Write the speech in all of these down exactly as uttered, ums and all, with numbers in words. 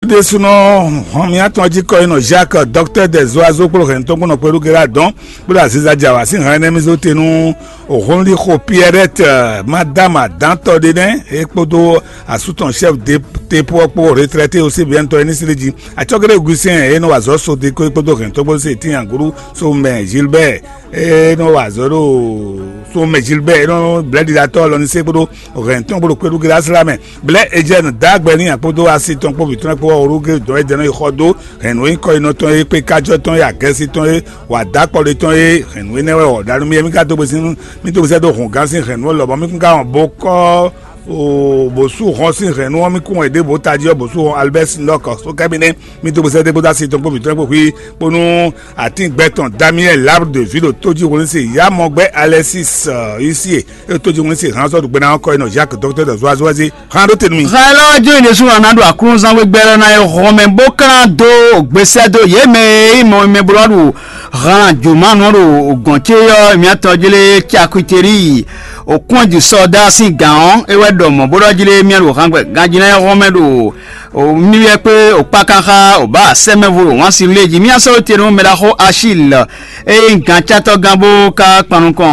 Ɖésúnɔ hɔn mǐtɔn jí kɔ e nɔ Jacques, docteur des oiseaux kpló hɛn tɔn kpɔ́n nɔ kpɛɖú Gérard dɔn kpló aziza jɛ awǎ sín hɛn énɛ́ mì zó te nú Honlixo Pierrette, madame adǎntɔ́ ɖé nɛ́, é kpódó asú tɔn chef de tepo ɔ́ kpó retraité aussi bien tɔn é ní slí jí. Acɔ́géɖé Augustin e nɔ wa azɔ̌ Sodeko é kpódó hɛn tɔn kpódó se tíin agǔɖú Somɛ Gilbert e nɔ wa azɔ̌ ɖo Somɛ Gilbert e nɔ blɛ́ɖiɖatɔ́ lɔ ní se kpódó hɛn tɔn kpódó kpéɖú Gérard mɛ. Blɛ̌ Ejɛ́nu dó agbɛ n'i kpódó asi tɔn kpó vǐ tɔn kpó ɔ́, Olúgé dɔn é jɛ nɔ yi xɔ dó hɛ̌nnu e nyí kɔyinɔ tɔn e kpé kájɔ tɔn e agɛ́sí tɔn e wǎ dó akpɔɖe tɔn e hɛ̌nnu énɛ́ wɛ wɔ̌ ɖa nú mì é mì ka dó gbe sín mì dó gbe sɛ́ dó hǔngán sín hɛ̌nnu lɔmɔ̌ mì kún ka wɔn bó kɔ bó sú hɔn sín hɛ̌nnu ɔ́ mì kún wɛ ɖěbǔ tají ɔ́ bó sú hɔn Albert Sinɔk sókɛ́mínɛ́ mì dó gbe sɛ́ dó kpódó asi tɔn kpó vǐ tɔn kpó xwí bónú atín gbɛ tɔn Damiɛl Labre de Vilo tójí wlin se Yamɔgbɛ Alexis Yusie e tójí wlin se hán sɔ́ ɖu gbɛ́ná ɔ́ kɔ e nɔ Jacques dɔkítɔ́ dɔ zuazua zé hán ɖó te nú mì. Xá élɔ́ ɔ́ jó nyí ɖésú ɔ́ ná ɖo aklúnɔzán wegbe lɔ ná e hɔn mɛ bó klán dó gbesɛ dó yě mɛ e nyí mɔ mɛ bló ɖo han jǒmanɔ ɖo gɔ̌n ce ɔ́ miatɔn jlé Cakwiteri òkúnjǔ sɔ́dá sín gǎn ɔ́ é wɛ ɖɔ mɔ̌ bó ɖɔ jlé mia ɖo hangbɛ ganjí ná e hɔn mɛ ɖo mi wɛ kpé òkpákanxá òbá sɛ́mɛvo ɖo wǎn si lé jí mia sɔ́ te nú mɛ ɖaxó Achille eye nyí gancátɔ́gán bó ka kpan nukɔn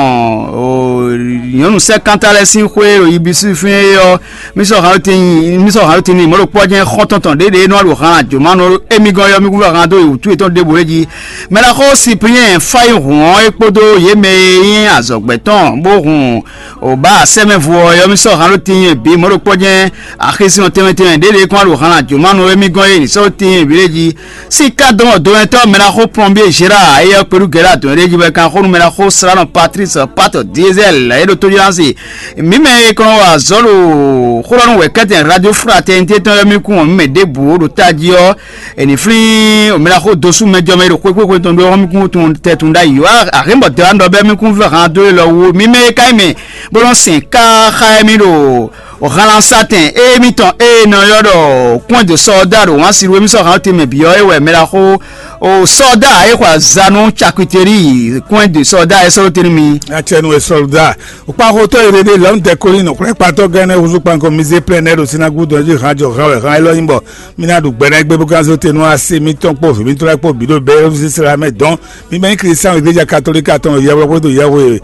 nyɔ̌nu sɛ́kánta lɛ́ɛ sín xwé ɖo yibisúfín é ɔ́, mí sɔ́ hǎnlótin mí sɔ́ hǎnlótin n'i mɔ̌ ɖo kpɔ́ jɛ́n xɔ́ntɔn tɔn ɖěɖě nɔ ɖo han jǒmanɔ émí gɔ́n ɔ́, mí kún fɔ han dó wǔtu yětɔn ɖěbǔ é jí. Mɛɖaxó Sipliɛn fá yi hǔn ɔ́, é kpódó yě mɛ e nyí azɔ̌gbɛ́ tɔn bó hun òbá sɛ́mɛvu ɔ́, yɔ́mísɔ́ hǎnlótin bǐ mɔ̌ ɖo kpɔ́ jɛ́n axésinɔ tɛnmɛ tɛnmɛ ɖěɖě kɔn ɖo han jǒmanɔ émí gɔ́n é nǐ sɔ́ tíin bǐ lé jí. Síká dɔn dɔwɛntɔ́ mɛɖaxó plɔ́nbíé Gérard, éyɛ́ kpɛɖú Gérard dɔn ɖ'é jí wɛ kan xó nú mɛɖaxó slánɔ Patrice Pat Diesel é ɖo tójlánsi. Mǐ mɛ e kɔn wá azɔ̌ ɖo xó ɖɔ nú wɛ̌kɛ́tɛn Radio Fraternité tɔn ɔ́ mì kún mǐ mɛ ɖěbǔ ɖo tají ɔ́, è nǐ flín mɛɖaxó dosú mɛjɔmɛ e ɖo xwéxwéxwe tɔn ɖó ɔ́ mì kún tun tɛtun ɖ'ayǐ wá. Ahémbɔ dɔ̌ anɔ bɛ́ mì kún vɛ́ han dó élɔ́ wú. Mǐ mɛ e ka nyí mɛ bó nɔ́ sɛn káxá émí ɖo halansatɛn émítɔn e è nɔ ylɔ́ ɖɔ kɔn de sɔ́da ɖo wǎn si ɖu émí sɔ́ han tɛnmɛ bǐ ɔ́ é wɛ mɛ ɖaxó o sɔ́da e xɔ azǎn nú cakiteri kɔn de sɔ́da e sɔ́ tɛnmɛ mi. Acɛnu e sɔlda kpaxotɔ yi ɖeɖe lɔn dɛkoli nɔ kplɛkpatɔ gɛnɛ huzu kpanko mize plɛnɛ ɖo sinagu dɔn ji han jɔ han wɛ han elɔ yin bɔ mina ɖu gbɛnɛ gbɛ bó kan zo tenu ase mitɔn kpó vǐ mitɔn lɛ kpó bǐ ɖo bɛ sisla mɛ dɔn mi mɛ nyí kristian iglesia katolika tɔn yɛwlɔ kpódó yɛwé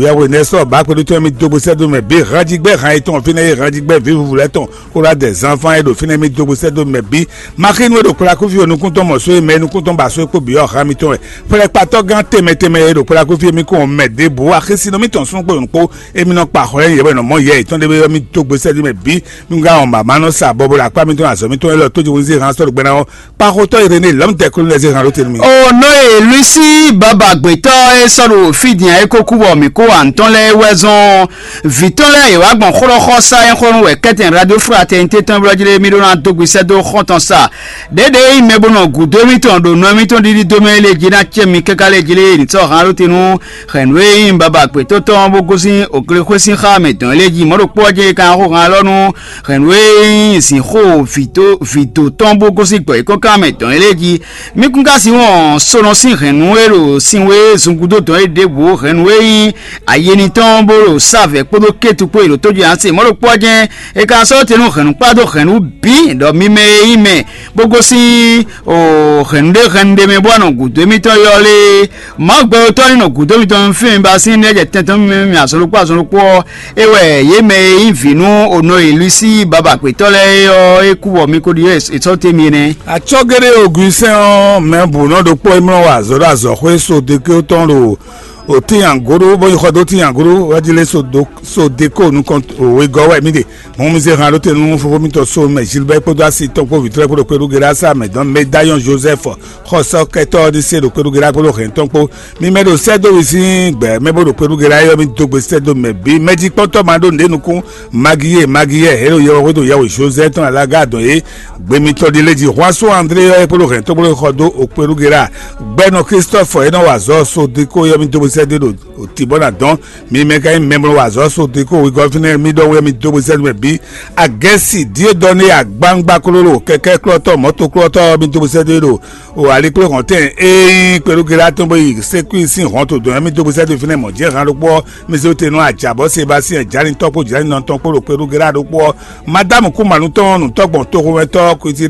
yɛwé nɛ sɔ ba kpódó tɔn mi dó gbe sɛ́ dó mɛ bí hanjigbɛ han etɔn fínɛ́ yé hanjigbɛ vǐ vuvu lɛ́ tɔn kó ɖo adɛ zanfan e ɖo fínɛ́ mi dó gbe sɛ́ dó mɛ bí maxinu e ɖo kplakúvi o nukúntɔn mɔ só e mɛ nukúntɔn ba só e kpó bǐ ɔ́ han mitɔn wɛ kplɛkpatɔ́ gán tɛnmɛ tɛnmɛ e ɖo kplakúvi mi kó mɛ ɖěbǔ axésinɔ mitɔn sún kpó nukpó emi nɔ kpa xɔ yɛ yɛ bɔ nɔ mɔ yɛ yětɔn ɖé bɔ mi dó gbe sɛ́ dó mɛ bí mi ka wɔn mama nɔ sa bɔbɔ ɖo akpá mitɔn azɔ̌ mitɔn élɔ́ tójú wunzé han sɔ́ ɖo gbɛ́ná ɔ́ kpaxotɔ́ Iréné lɔ̌mdɛ́ Kolonɛzé han ɖó te nú mi. O nɔ e Luisi baba gbětɔ́ e sɔ́ ɖo fí din ɛ é ko kú bɔ mǐ kó wa ntɔ́n lɛ́ɛ é wɛ zɔn vǐ tɔn lɛ́ɛ yě wá gbɔn xlɔ́xɔ́sá e xlɔ́ nú wɛ kɛ́tɛn Radio Fraternité tɔn blɔ́ jí lé mì ɖó ná dó gbe sɛ́ dó xɔ́ntɔn sa. Ɖěɖě e nyí mɛ bó nɔ gǔdo émítɔn ɖo nɔ émítɔn ɖiɖi dó mɛ é lě jí ná cɛ mi káká lɛ́ jí lé ní sɔ́ han ɖó te nú hɛ̌nnu e nyí baba gbětɔ́ tɔn bó gosín òklexwé sín xá mɛ dɔn é lě jí mɔ̌ ɖokpó ɔ́ jɛ́n é ka ná xo han élɔ́ nú hɛ̌nnu e nyí zǐnxó vǐdó tɔn bó gosín gbɔ̌ yěkɔ́nkan mɛ dɔn é lě jí. Mí kún ka sin wɔn sonɔ sín hɛ̌nnu e ɖo sin wé zungúdo dɔn é ɖěbǔ hɛ̌nnu e nyí ayeni tɔn bó ɖo sávɛ kpódó kétu kpó e ɖo tójú ǎ se mɔ̌ ɖokpó ɔ́ jɛ́n é ka sɔ́ te nú hɛ̌nnukpá dó hɛ̌nnu bǐ ɖɔ mi mɛ e nyí mɛ bó gosín hɛ̌nnu ɖé hɛ̌nnu ɖé mɛ bó wá nɔ gǔdo émítɔn ylɔ́ lé. Mawu gbɛtɔ́ ní nɔ gǔdo mitɔn fí mi ba sín ní ɛjɛ tɛntɔn mi mɛ azɔn ɖokpó azɔn ɖokpó ɔ́, é wɛ yě mɛ e nyí vǐ nú onɔ e Luisi baba gbětɔ́ lɛ́ɛ é ɔ́, é kú bɔ mi ko ɖi é sɔ́ te mi nɛ́. Atsɔ́géɖé Ogusɛn ɔ́, mɛ bǔ nɔ ɖokpó e mlɔ wa azɔ̌ ɖo azɔ̌xwé Sodeke tɔn ɖo òtín angoɖó, bó yi xɔ dó tín angoɖó, wá jí lé Sodeko nukɔn wegɔ́ wɛ mì ɖe. Mɔmizɛhan ɖó te nú fofó mitɔn Somɛ Gilbert kpódó asi tɔn kpó vǐtrɔ́ kpódó kpéɖú Gerasa mɛ dɔn Medayɔn Joseph xɔsɔ́kɛtɔ́ ɔ́ ɖi se ɖo kpéɖú Gera kpódó hɛn tɔn kpó. Mi mɛ ɖo sɛ́ dó wi sín gbɛ mɛ bó ɖo kpéɖú Gera é ɔ́, mi dó gbe sɛ́ dó mɛ bǐ. Mɛjikpɔ́ntɔ́ ma ɖó nǔɖé nukún Magiyé Magiyé é ɖo yɛhwedo yɛhwe Joseph tɔn alága dɔn é gbe mitɔn ɖi lé jí Huaso André ɔ́ é kpódó hɛn tɔn kpódó xɔ dó o kpéɖú Gera. Gbɛnɔ Christophe é nɔ wa azɔ̌ Sodeko é ɔ́, mi dó gbe sɛ́ dó ɖo tǐbɔ́ ná dɔn. Mi mɛ ka nyí mɛmlɔ wa azɔ̌ Sodeko wegɔ́ fínɛ́ mi ɖɔ wɛ mi dó gbe sɛ́ dó mɛ bǐ. Agɛsi Diedɔne agbangba klolo kɛkɛ klɔtɔ mɔto klɔtɔ mi dó sɛ́ dó ɖo o alikpléhɔntɛn e nyí kpelugela tɔn bó yi sekui sín hɔn to dɔn mi dó sɛ́ dó fínɛ́ mɔ̌ jɛ han ɖokpó ɔ́ mi zé te nú ajabɔ Sebastien Jani tɔn kpó Jani nɔ tɔn kpó ɖo kpelugela ɖokpó ɔ́. Madamu kú manu tɔn nutɔgbɔn toxomɛtɔ Kutiria